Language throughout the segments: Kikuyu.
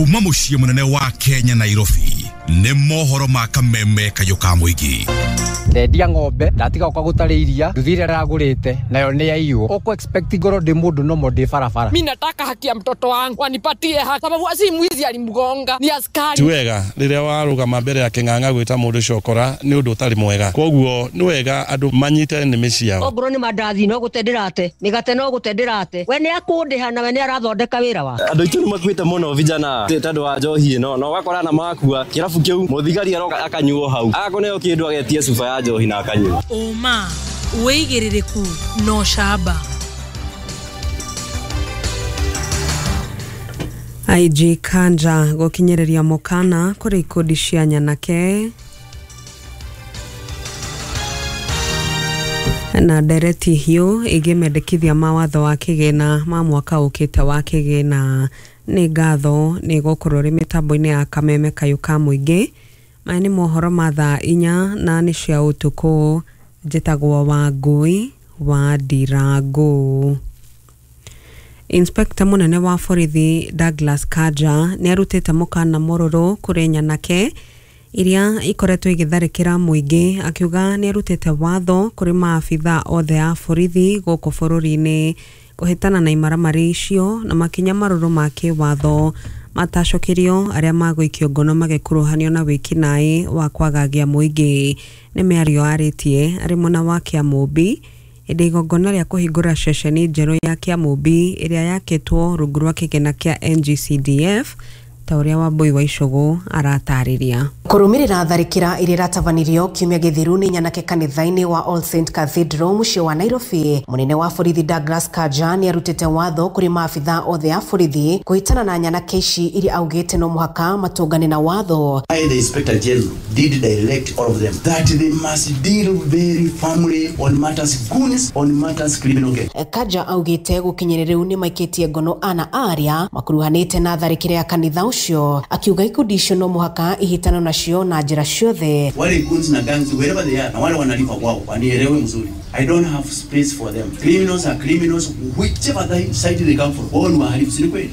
Kuma mũciĩ mũnene wa Kenya Nairobi nĩ mohoro ma kameme kayũ ka mũingĩ. Ndendia ng'ombe ndatiga gũka gũtarĩ iria nduthi ĩrĩa ndĩragũrĩte nayo nĩ yaiywo. Ũkũ expect ngorwo ndĩ mũndũ nomo ndĩ barabara. Mimi nataka haki ya mtoto wangu wanipatie haki, sababu si mwizi alimgonga, ni askari. Ti wega rĩrĩa warũgama mbere ya kĩng'ang'a gwĩta mũndũ cokora nĩ ũndũ ũtarĩ mwega, koguo nĩ wega andũ manyite nĩmĩ ciao. Ongorwo nĩ mandathi no gũte ndĩrate, mĩgate no gũte ndĩrate, we nĩ akũndĩha na we nĩ arathondeka wĩra wake. Andũ aitũ nĩ makuĩte mũno vijana tondũ wa njohi ĩno, na ũgakora na makua kĩrabu kĩu mũthigari aroka akanyuo hau akũneo kĩndũ agetie cuba ya njohi na akanyua. Ũma wĩigĩrĩrĩku no camba. IG Kanja gũkinyĩrĩria mũkana kũrĩ ikundi cia nyanake na ndereti hiũ ĩgiĩ mendekithia ma watho wa kĩgĩna ma mwaka ũkĩte wa kĩgĩna. Nĩ ngatho nĩ gũkorwo rĩ mĩtambo-inĩ ya kameme kayũ ka mũingĩ. Maya nĩ mohoro ma thaa 4 na nĩ cia ũtukũ. Njĩtagwo Wangũi wa Ndirangũ. Inspector mũnene wa borithi Douglas Kanja nĩ arutĩte mũkana mũrũrũ kũrĩ nyanake iria ikoretwo igĩtharĩkĩra mũingĩ, akiuga nĩ arutĩte watho kũrĩ maabitha othe a borithi gũkũ bũrũri-inĩ kũhĩtana na imaramari icio na makinya marũrũ ma kĩwatho matacokirio arĩa magũikio ngono magĩkuruhanio na wĩkinaĩ wa kwagagia mũingĩ. Nĩ mĩario arĩtie arĩ mwena wa Kĩamũmbi hĩndĩ igongona rĩa kũhingũra ceceni njerũ ya Kĩamũmbi ĩrĩa yakĩtwo rungu rwa kĩgĩna kĩa NGCDF, ta ũrĩa Wambui wa Icũgũ aratarĩria. Kũrũmĩrĩra tharĩkĩra ĩrĩa ĩratabanirio kiumia gĩthiru nĩ nyanake kanitha-inĩ wa All Saint Cathedral mũciĩ wa Nairobi, mũnene wa borithi Douglas Kanja nĩ arutĩte watho kũrĩ maabitha othe a borithi kũhĩtana na nyanake ici iria augĩte no mũhaka matũngane na watho. I, the Inspector General, did direct all of them that they must deal very firmly on matters goons, on matters criminal gang. Kanja augĩte gũkinyĩrĩria rĩu nĩ maikĩtie ngono ana arĩa makuruhanĩte na tharĩkĩra ya kanitha ũcio, akiuga ikundi icio no mũhaka ihĩtano nacio na njĩra ciothe. Wale goons na gangs wherever they are, na wale wanalipa kwao wanielewe mzuri, I don't have space for them. Criminals are criminals whichever side they come from. Wao ni wahalifu, si kweli?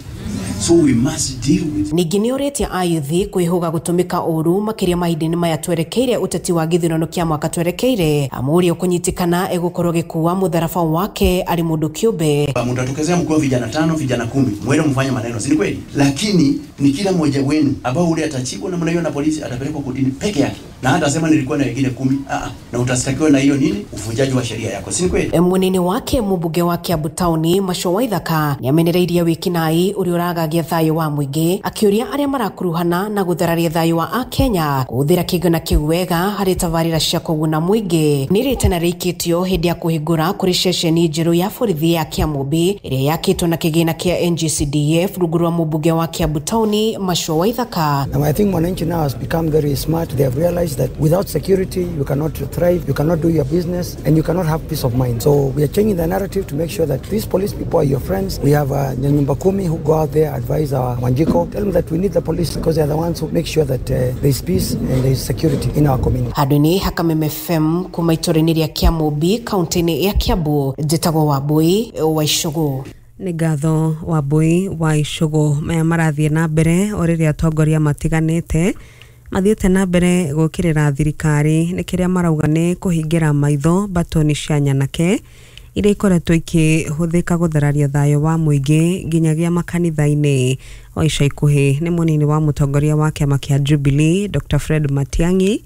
So we must deal with. Ningĩ nĩ ũrĩtie ayuthi kwĩhũga gũtũmĩka ũru makĩria mahinda-inĩ maya twerekeire ũteti wa gĩthurano kĩa mwaka twerekeire. Amũria kũnyitĩkana egũkorwo gĩkuua mũtharaba wake arĩ mũndũ kĩũmbe. Mtatokezea mkiwa vijana 5, vijana 10, mwende mfanye maneno, si kweli? Lakini ni kila mmoja wenu ambao ule atachikwa na mnaiona polisi atapelekwa kotini peke yake, na hata sema nilikuwa na wengine 10, na utastakiwa na hiyo nini, uvujaji wa sheria yako, si kweli? Munini wake mũmbunge wa Kiambu Town Macho Waithaka nĩamenereirie wĩkinaĩ ũrĩa ũragagia thayũ wa mũingĩ, akĩũria arĩa marakuruhana na gũthararia thayũ wa akenya kũhũthĩra kĩgĩna kĩu wega harĩ tabarĩra cia kũguna mũingĩ. Nĩ rĩtana rĩikĩtio hĩndĩ ya kũhingũra kũrĩ ceceni njerũ ya borithi ya Kĩamũmbi ĩrĩa yakĩtwo na kĩgĩna kĩa NGCDF rungu rwa mũmbunge wa Kiambu Town Macho Waithaka. Now I think mwananchi now has become very smart. They have realized that without security you cannot thrive, you cannot do your business, and you cannot have peace of mind. So we are changing the narrative to make sure that these police people are your friends. We have Nyanyumba Kumi who go out there, advise our Wanjiko, tell them that we need the police because they are the ones who make sure that there is peace and there is security in our community. Handũ-inĩ ha Kameme FM kuma itũũra-inĩ rĩa Kĩamũmbi kaunti-inĩ ya Kiambu, njĩtagwo Wambui wa Icũgũ. Nĩ ngatho Wambui wa Icũgũ. Maya marathiĩ na mbere o rĩrĩa atongoria matiganĩte mathiĩte na mbere gũkĩrĩra thirikari nĩ kĩrĩa marauga nĩ kũhingĩra maitho batoni cia nyanake iria ikoretwo ikĩhũthĩka gũthararia thayũ wa mũingĩ nginyagia makanitha-inĩ. O ica ikuhĩ nĩ mũnini wa mũtongoria wa kĩama kĩa Jubilee Dr. Fred Matiang'i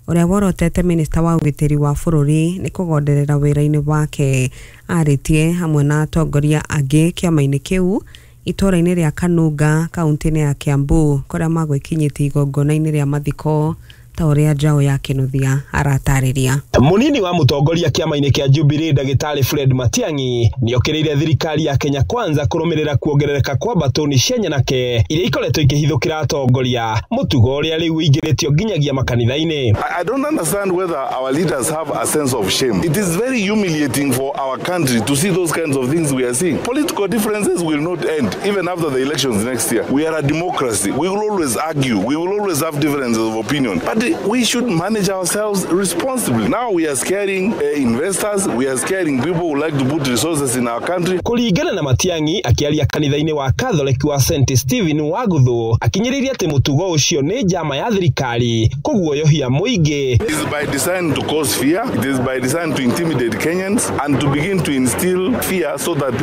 ũrĩa worotete minista wa ũgitĩri wa bũrũri nĩ kũgonderera wĩra-inĩ wake, arĩtie hamwe na atongoria angĩ kĩama-inĩ kĩu itũũra-inĩ rĩa Kanunga kaunti-inĩ ya Kiambu kũrĩa magwĩkinyĩtie igongona-inĩ rĩa mathiko ta ũrĩa Njaũ ya Kĩnuthia aratarĩria. Munini wa mũtongoria kĩama-inĩ kĩa Jubilee Ndagĩtarĩ Fred Matiang'i nĩokĩrĩire thirikari ya Kenya Kwanza kũrũmĩrĩra kuongerereka kwa mbatũni cia nyanake iria ikoretwo ikĩhithũkĩra atongoria, mũtugo ũrĩa rĩu ũingĩrĩtio nginyagia makanitha-inĩ. I don't understand whether our leaders have a sense of shame. It is very humiliating for our country to see those kinds of things we are seeing. Political differences will not end even after the elections next year. We are a democracy. We will always argue. We will always have differences of opinion. But we should manage ourselves responsibly. Now we are scaring investors, we are scaring people who like to put resources in our country. Kũringana na Matiang'i akĩaria kanitha-inĩ wa Catholic wa St Stephen wa Guthũ, akinyĩrĩirie atĩ mũtugo ũcio nĩ njama ya thirikari kũguoyohia mũingĩ. It is by design to cause fear, it is by design to intimidate Kenyans and to begin to instill fear so that